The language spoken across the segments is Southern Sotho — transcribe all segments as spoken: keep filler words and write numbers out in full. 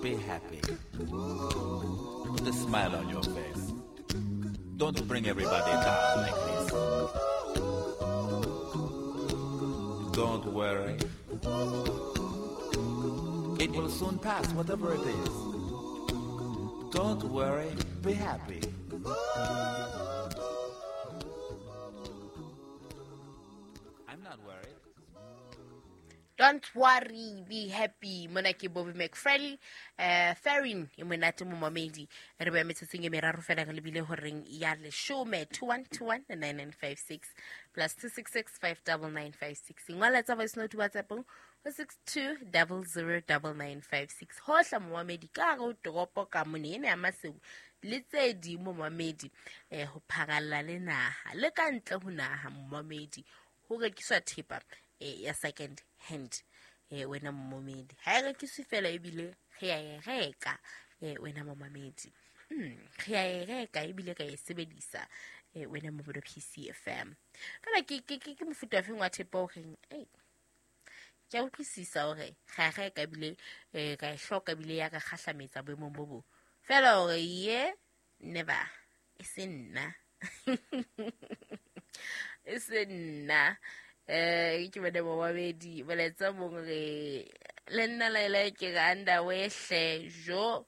Be happy. Put a smile on your face. Don't bring everybody down like this. Don't worry. It will soon pass, whatever it is. Don't worry, be happy. I'm not worried. Don't worry, be happy. Mona ke Bobby McFerrin, eh Ferrin e monate mo mamedi. Re ba metsotsong e meraro fela re lebile horeng ya leshome two one two one nine nine five six plus two six six five nine nine five six. Ngola tsa voice note WhatsApp ho six two zero zero nine nine five six. Hohla momamedi ka re o toropo ka mone ena ya Maseru le tse ding momamedi eh ho pharalla le naha le ka ntle ho naha momamedi ho rekiswa thepa eh ya second hand eh wena momamedi ha e rekiswe fela ebile re ya e reka eh wena momamedi mm re ya e reka ebile ka e sebedisa eh wena mo P C F M fela ke ke ke mofuta wa feng wa thepa o reng eh ke a utlwisisa hore ga reka ebile eh ka e hloka ebile ya ka kgahlametsa boemong bo bo fela hore ye never e se nna e se nna eh ke bone momamedi boletsa mong re le nna la ile ke ga underwear hle jo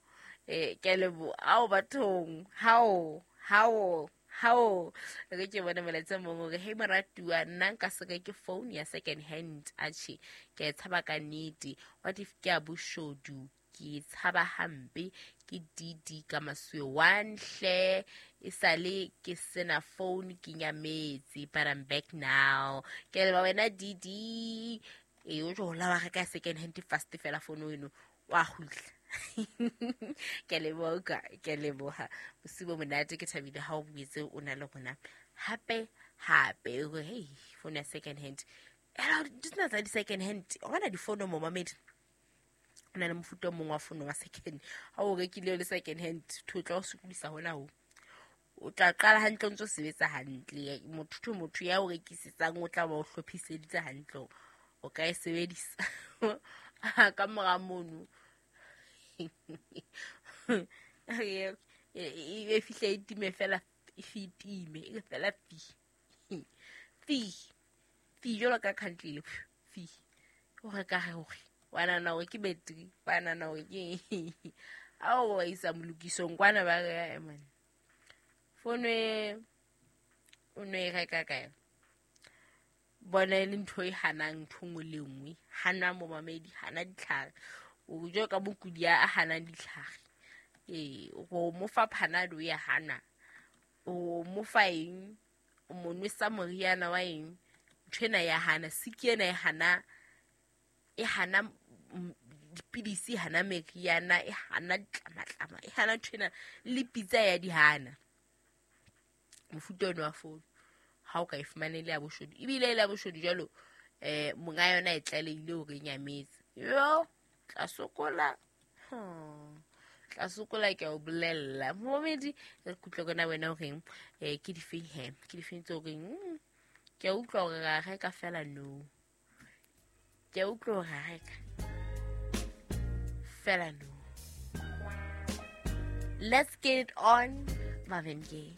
eh ke lebo ao bathong how how how re ke bone boletsa mong re hey moratuwa nna nka se ke phone ya second hand atjhe ke tshaba ka nnete what if ke a boshodu ke tshaba hampe ke D D ka maswe one hle e sale ke sena phone ke nyametse but I'm back now ke le ba wena D D e o jola wa reka second hand fast fela phone eno wa gutla ke leboga ke leboha bosibo monate ke thabile ha o buetse o na le rona hape hape o hey phone ya second hand ela di tsena tsa di second hand o bona di phone mo mamedi na le mofuta o mongwe wa fono wa second ha o rekile le second hand tho tla o sokodisa hona ho o tla qala hantle o ntso sebetsa hantle motho motho ya o rekisetsang o tla ba o hlophiseditse hantle o ka e sebedisa ka mora mono e fihle e time fela e fitime e fela fi fi fi jolo ka country le fi o reka hore wana na o ke battery wana na o ke ao wa isa molokisong kwana ba re man phone o no e reka kae bona e le ntho e hanang ntho nngwe le nngwe hana momamedi hana ditlhare o jo ka mokudi a hanang ditlhare ee o mo fa Panado ya hana o mo fa eng o mo nwesa moriana wa eng ntho ena ya hana siki ena e hana e hana dipidisi hana meriana e hana ditlamatlama e hana ntho ena le pitsa ya di hana mofuta ono wa phone ha o ka e fumane le ya boshodu ebile le ya boshodu jwalo eh monga yona e tlalehile hore e nyametse yo tla sokola tla sokola ke o bolella momedi re kutlwe kona wena o reng eh ke difeng he ke difeng tse o reng ke a utlwa hore ra reka fela no ke a utlwa hore ra reka fela no. Let's get it on, Marvin Gaye.